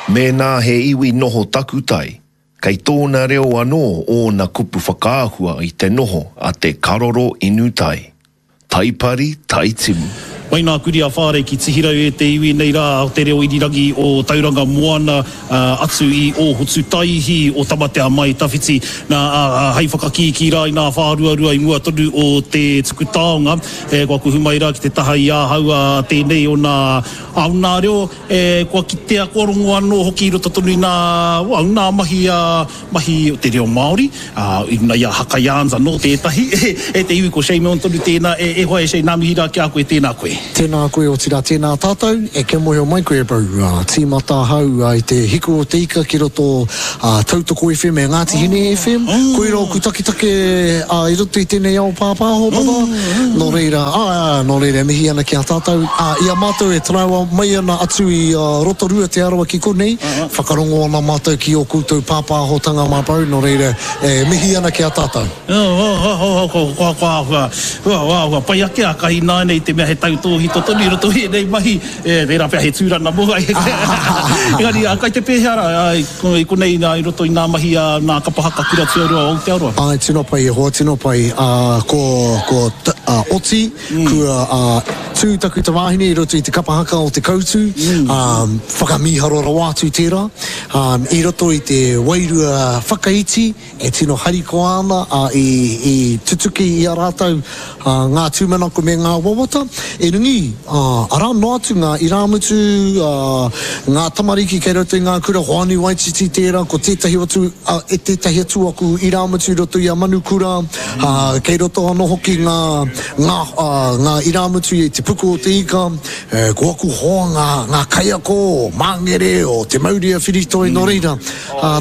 Mēnā he iwi noho takutai, kei tōna reo anō ōna kupu whakaahua i te noho a te karoro inu tai. Taipari, Taitimu. Mai nā kuri a Whārei ki Tihirau e te iwi nei rā o te reo irirangi o Tauranga Moana atu i Ōhotutaihi o Tamatea Mai Tawhiti nā hei whakakīkī rā i nā whāruarua i mua tonu o te tuku taonga kua kuhu mai rā ki te taha i ahau a tēnei o nā o nā reo e kua kitea kua rongo anō hoki i roto tonu i nā o nā mahi a mahi o te reo Māori, ā, i runga i a Haka Yarns anō tētahi, e te iwi ko Shay Milne tonu tēnā, e, e hoa e Shay, nā mihi rā ki a koe, tēnā koe. Tēnā koe, otirā tēnā tātou, e kia mōhio mai koe bro, ā, tīmata ahau i te Hiku o te Ika ki roto ā, Tautoko FM e Ngāti Hine FM, koira oku taketake ā, i roto i tēnei ao pāpāho baba, nō reira, ā, ā, nō reira e mihi ana ki a tātou, ā, i a mātou e taraiwa mai ana atu i Rotorua Te Arawa ki konei, Whakarongo ana mātou ki ō koutou pāpāhotanga mā Beau, nō reira, e mihi ana ki a tātou. Kua āhua pai ake a Kahi ināianei i te mea he tautōhito tonu i roto i ēnei mahi, tērā pea he tūranga mō Engari, kai te pēhea rā i konei i roto i ngā mahi a ngā kapa haka kura tuarua o Aotearoa? Āe, tino pai e hoa, tino pai. Kua oti Kua tū taku tamāhine i roto i te kapa haka o Te Koutu, whakamīharo rawa atu tērā. I roto i te wairua whakaiti e tino harikoa ana, i tutuki i a rātou ngā tūmanako me ngā wawata. Erangi, arā noa atu ngā irāmutu, ngā tamariki kei roto i ngā kura, Hoani Waititi tērā, ko tētahi atu, tētahi atu aku irāmutu i roto i a Manukura, kei roto anō hoki ngā, ngā, ngā irāmutu i te puku o te ika, ko aku hoa ngā, ngā kaiako o Māngere, o Te Maurea Whiritoi, nō reira,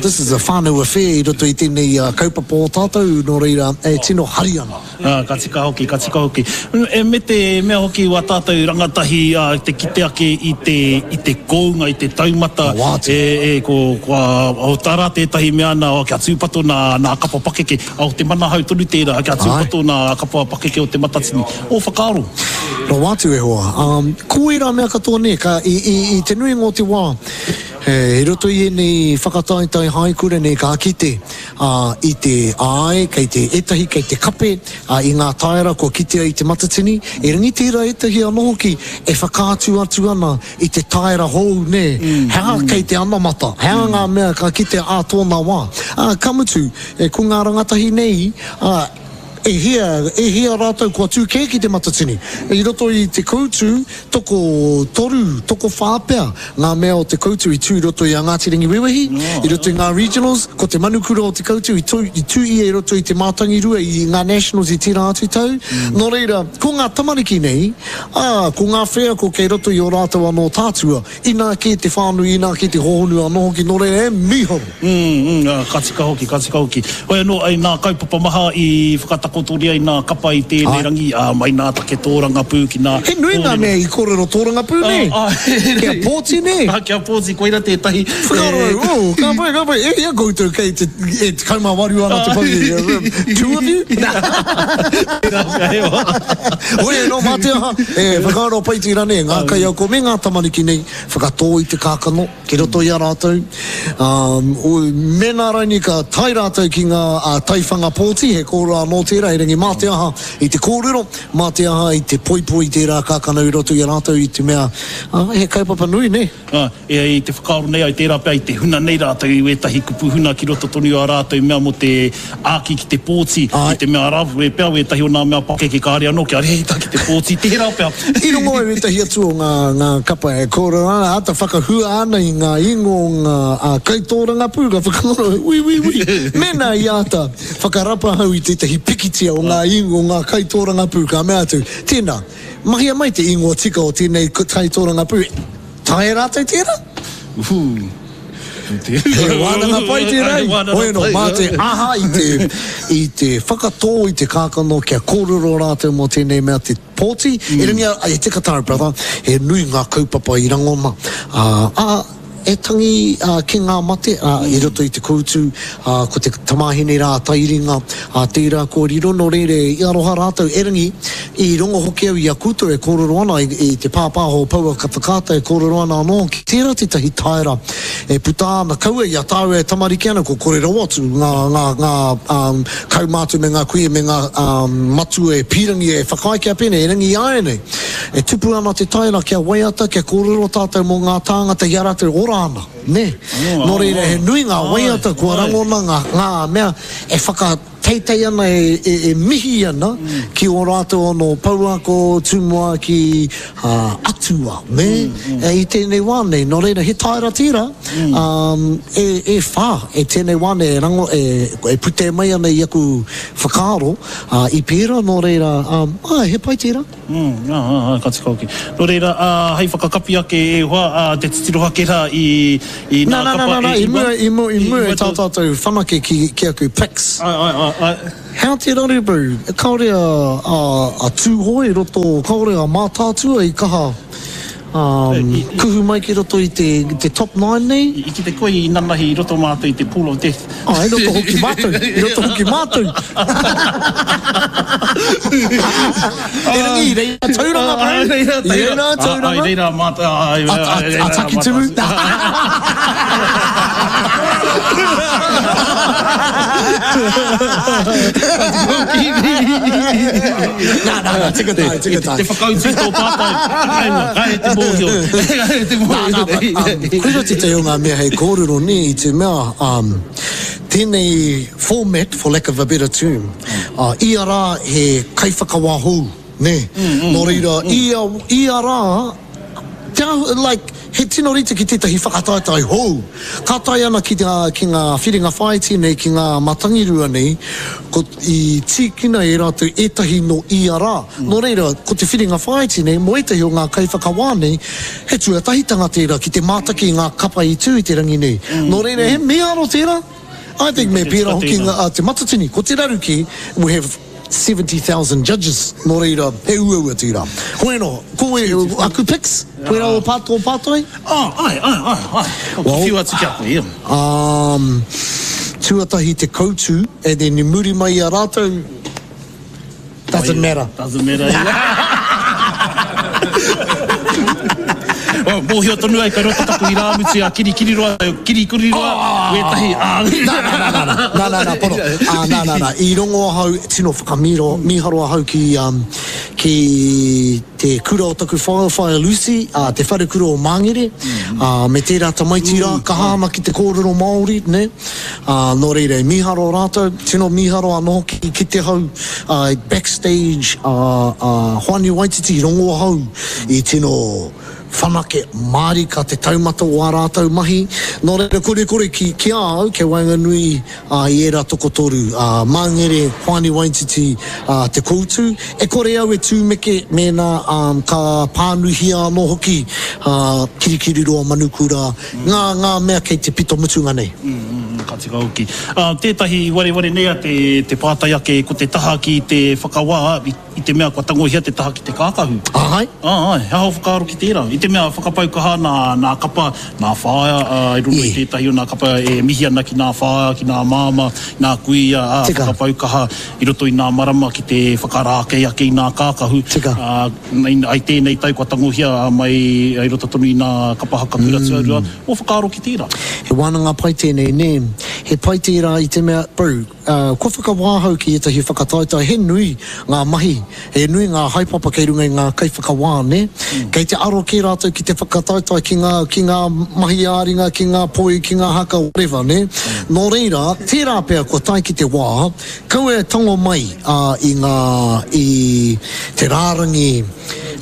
this is a whānau affair i roto i tēnei kaupapa o tātou, nō reira, e tino hari ana. Ā, ka tika hoki, ka tika hoki. E, me te mea hoki wā tātou rangatahi, ā, te kite ake i te, i te kounga, i te taumata, e, e, ko, kua, o tā rā tētahi mea ana, oh, kia tūpato nā, nā kapa pakeke, ā, o te manahau tonu tērā, kia tūpato nā kapa pakeke o Te Matatini. Ō whakaaro? Rawa atu e hoa. Ā, ko ērā mea katoa nē, ka, i, i, i te nuinga o te wā, e, i roto i ēnei whakataetae haikura nei ka kite, ā, i te, āe, kei te, ētahi kei te kape, ā, i ngā taera kua kitea i Te Matatini, erangi tērā ētahi anō hoki e whakaatu atu ana i te taera hou, nē, he aha kei te anamata, he aha ngā mea ka kitea ā tōna wā. Ā, ka mutu, e, ko ngā rangatahi nei, ā, e hia, e hia rātou kua tū kē ki Te Matatini. I roto i te koutu, tokotoru, tokowhā pea ngā mea o te koutu i tū i roto i a Ngāti Rangiwewehi, i roto i ngā regionals, ko te manukura o te koutu i tū, i tū ia i roto i te Mātangirua i ngā nationals i tērā atu tau. Nō reira, ko ngā tamariki nei, ā, ko ngā wheako kei roto i ō rātou anō tātua, Inā kē te whānui, inā kē te hōhonu anō hoki, nō reira, e mīharo! Mm, mm, ka tika hoki, ka tika hoki. Hoi anō, i nā kaupapa maha i whakatakotoria i nā kapa i tēnei rangi, ā, mai nā take tōrangapū ki nā He nui ngā mea i kōrero tōrangapū, nē? Kia pōti, nē? Ā, kia pōti, koira tētahi. Whakaaro au, oh, ka pai, ka pai, e hia koutou kei te, e 18 ana te pakeke, two of you? Tērā pea he wā. Hoi anō, mā te aha, e whakaaro pai te rane, ngā kaiako me ngā tamariki nei, whakatō i te kākano ki roto i a rātou. Ā, mēnā raini ka tae rātou ki ngā taiwhanga pōti, he kōrero anō tērā, erangi mā te aha i te kōrero, mā te aha i te poipoi i tērā kākano i roto i a rātou i te mea, ā, he kaupapa nui, nē. Ā, e i te whakaaro nei ai tērā pea i te huna nei rātou i wētahi kupu huna ki roto tonu i ā rātou mea mō te āki ki te pōti, i te mea arā pea wētahi o nā mea pakeke kāre anō kia rēhita ki te pōti, tērā pea. I rongo au ētahi atu o ngā, ngā kapa e kōrero ana, āta whakahua ana i ngā ingoa o ngā, ā, kaitōrangapū, ka whakaaro, ui, ui, ui, mēnā i āta whakarapa ahau i tētahi pikitia o ngā ingoa o ngā kaitōrangapū, ka mea atu, tēnā, Mahia mai te ingoa tika o tēnei kaitōrangapū. Taea rātou tērā? He wānanga pai tērā. Hoi anō, mā te aha i te, i te whakatō i te kākano kia kōrero rātou mō tēnei mea te pōti. Erangi, e tika tāu, brother, he nui ngā kaupapa i rangona. Ā, ā. e tangi ki ngā mate, ā, i roto i te koutu, ā, ko te tamāhine rā a Tairinga, ā, tērā kua riro, nō reira i aroha rātou, erangi, i rongo hoki au i a koutou e kōrero ana, i, i te pāpāho o Pouaka Whakaata e kōrero ana anō hoki, tērā tētahi taera e puta ana, kaua i a tāua e tamariki ana, kua kore rawa atu ngā, ngā, ngā, ā, kaumātua me ngā kuia me ngā, ā, matua e pīrangi e whakaae kia pēnei, erangi āianei, E tupu ana te taera kia waiata, kia kōrero tātou mō ngā tāngata i a rātou ora ana, nē? Nō reira, he nui ngā waiata kua rangona, ngā, ngā mea e whakateitei ana, e, e, e mihi ana ki ō rātou anō pouako, tumuaki, ā, atua, nē? E, i tēnei wā nei. Nō reira, he taera tērā, ā, e, e whā, e tēnei wā nei e rango, e, e putē mai ana i aku whakaaro, ā, i pērā, nō reira, ā, āe, he pai tērā. Mm, ā, ā, ā, ka tika hoki. Nō reira, ā, hei whakakapi ake e hoa, ā, te titiro ake rā i, i nā, nā kapa nā, nā, e i mua, i mua, i mua i tā tātou whanake ki, ki aku picks. Āe, āe, āe, āe. Hea te raru, bro? Kāore a, a, a Tūhoe i roto, kāore a Mātaatua i kaha, um, kuhu mai ki roto i te, te top nine nei? I, i kite koe i nanahi i roto mātou i te pool of death. Ā, i roto hoki mātou, i roto hoki mātou. Erangi, i reira Tauranga, bro. I reira Tauranga. I reira mātou. A Takitimu. Nā, nā, nā, tika tāu, tika tāu. Te whakautu i tō pātai. Kāre te mōhio. Kāre te mōhio. Nā, nā, koira tētahi o ngā mea hei kōrero, nē, i te mea, um, tēnei format, for lack of a better term, uh, ia rā he kaiwhakawā hou, nē. Nō reira, ia, ia rā, te āhua, like, he tino rite ki tētahi whakataetae hou. Ka tae ana ki ngā, ki ngā whiringa whāiti nei, ki ngā matangirua nei, ko, i tīkina e rātou ētahi nō ia rā. Nō reira, ko te whiringa whāiti nei, mō ētahi o ngā kaiwhakawā nei, he tuatahitanga tērā ki te mātaki i ngā kapa i tū i te rangi nei. Nō reira, he mīharo tērā. I think me pērā hoki ngā, a Te Matatini. Ko te raru kē, we have 70,000 judges, nō reira, he uaua tērā. Hoi anō, ko e, aku picks, koirā o pā, tō pātai? Oh, āe, āe, āe, āe. Kua whiu atu ki a koe, ia. Um, tuatahi te koutu, and then i muri mai i a rātou, Doesn't matter. Doesn't matter. Oh, mōhio tonu ai kei roto taku irāmutu a Kirikiriroa, Kirikiriroa, oh! wētahi. Ah. Nā, nā, nā, nā, nā, nā, nā, nā, pono. Ah, nā, nā, nā. I rongo ahau, tino whakamīro, mīharo ahau ki, um, ki te kura o taku whaea, Whaea Lucy, uh, te wharekura o Māngere, mm. uh, me tērā tamaiti rā, mm. kaha ana ki te kōrero Māori, ne? Ā, nō reira, i mīharo rātou, tino mīharo anō hoki ki te hau, ā, i backstage, ā, ā, Hoani Waititi i rongo ahau i tino whanake mārika te taumata o ā rātou mahi. Nō reira, korekore ki, ki a au, kei waenganui, ā, i ērā tokotoru, ā, Māngere, Hoani Waititi, ā, Te Koutu, e kore au e tūmeke mēnā, ā, ka pānuihia anō hoki, ā, Kirikiriroa Manukura, Ngā, ngā mea kei te pito mutunga nei. Ka tika hoki. Ā, tētahi i wareware nei a te, te pātai ake ko te taha ki te whakawā i, i te mea kua tangohia te taha ki te kākahu. Āe. Āe, he aha ō whakaaro ki tērā? I te mea whakapau kaha nā, nā kapa, nā whaea, ā, i roto i tētahi o nā kapa e mihi ana ki nā whaea, ki nā māmā, nā kuia, ā, Tika. whakapau kaha i roto i nā marama ki te whakarākei ake i nā kākahu. Tika. Ā, I tēnei tau kua tangohia mai i roto tonu i nā kapa haka kura tuarua, ō whakaaro ki tērā? He wānanga pai tēnei, nē. He pai tērā i te mea, bro, kua whakawā ahau ki ētahi whakataetae, he nui ngā mahi, he nui ngā haepapa kei runga i ngā kaiwhakawā, nē. Kei te aro kē rātou ki te whakataetae ki ngā, ki ngā mahi ā-ringa, ki ngā poi, ki ngā haka, whatever, nē. Nō reira, tērā pea kua tae ki te wā, Kaua e tango mai i ngā, i te rārangi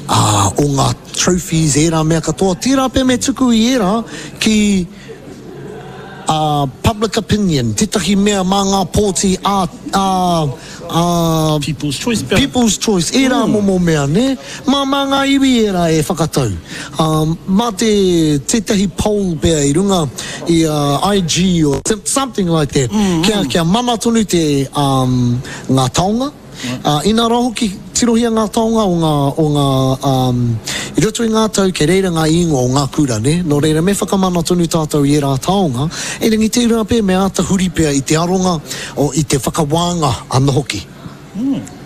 o ngā trophies, ērā mea katoa, tērā pea me tuku i ērā ki public opinion, tētahi mea mā ngā pōti ā, ā, ā, People's choice pea. People's choice, ērā momo mea, nē? Mā, mā ngā iwi ērā e whakatau. Ā, mā te, tētahi poll pea i runga i a IG or something like that, kia, kia mana tonu te, um, ngā taonga. Ā, inā rā hoki, tino. Tirohia ngā taonga o ngā, o ngā, um, i roto i ngā tau kei reira ngā īngoa o ngā kura, nē? Nō reira, me whakamana tonu tātou i ērā taonga, erangi tērā pea me āta huri pea i te aronga, o, i te whakawānga anō hoki.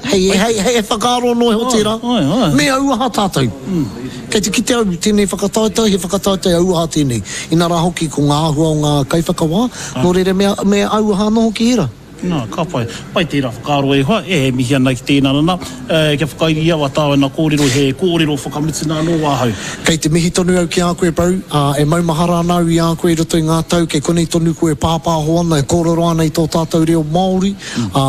Hei, hei, hei whakaaro anō iho tērā. Me auaha tātou. Kei te kite au i tēnei whakataetae, he whakataetae auaha tēnei. Inā rā hoki ko ngā āhua o ngā kaiwhakawā, nō reira me, me auaha anō hoki ērā. Nā, ka pai. Pai tērā whakaaro e hoa, e mihi ana ki tēnā nana. E, kia whakairi au a tāu kōrero, he kōrero whakamutuna anō ahau. Kei te mihi tonu au ki a koe bro, ā, e maumahara ana au i a koe i roto i ngā tau, kei konei tonu koe e pāpāho ana, e kōrero ana i tō tātou reo Māori. Ā,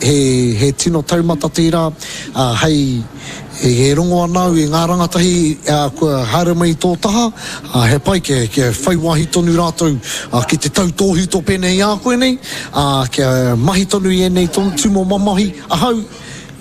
he, he tino taumata tērā, ā, hei, e rongo ana au i ngā rangatahi, ā, kua haere mai i tō taha, ā, he pai kia, kia whai wāhi tonu rātou, ā, ki te tautōhito pēnei i a koe nei, ā, kia mahi tonu i ēnei tūmomo mahi. Ahau,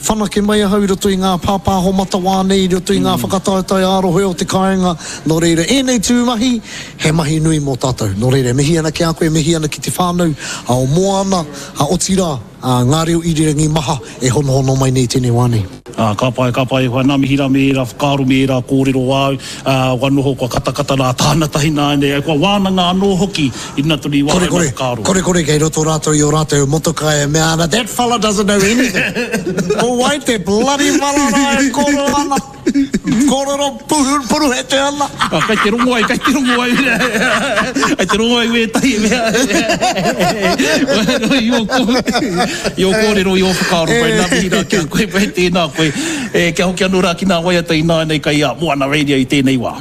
whanake mai ahau i roto i ngā pāpāho matawā nei, i roto i ngā whakataetae ā-rohe o te kāinga, nō reira, ēnei tū mahi, he mahi nui mō tātou. Nō reira, e mihi ana ki a koe, e mihi ana ki te whānau o Moana, otirā, ngā reo irirangi maha e honohono mai nei i tēnei wā nei. Ā, ka pai, ka pai e hoa, nā mihi rā me ērā whakaaro, me ērā kōrero āu, ā, kua noho, kua katakata rā tāna tahi nāianei, kua wānanga anō hoki i runga tonu i wā ēnā whakaaro. Kore, kore, kei roto rātou i ō rātou motokā e mea ana, That fella doesn't know anything! Ko wai te bloody fella rā e kōrero ana? Kōrero puruhete ana. Ah, kei te rongo ai, kei te rongo ai. Kei te rongo ai wētahi mea. I ō i ō kōrero, i ō whakaaro koe, nā mihi rā ki a koe, koe tēnā koe. E, kia hoki anō rā ki ngā waiata ināianei kai a Moana Radio i tēnei wā.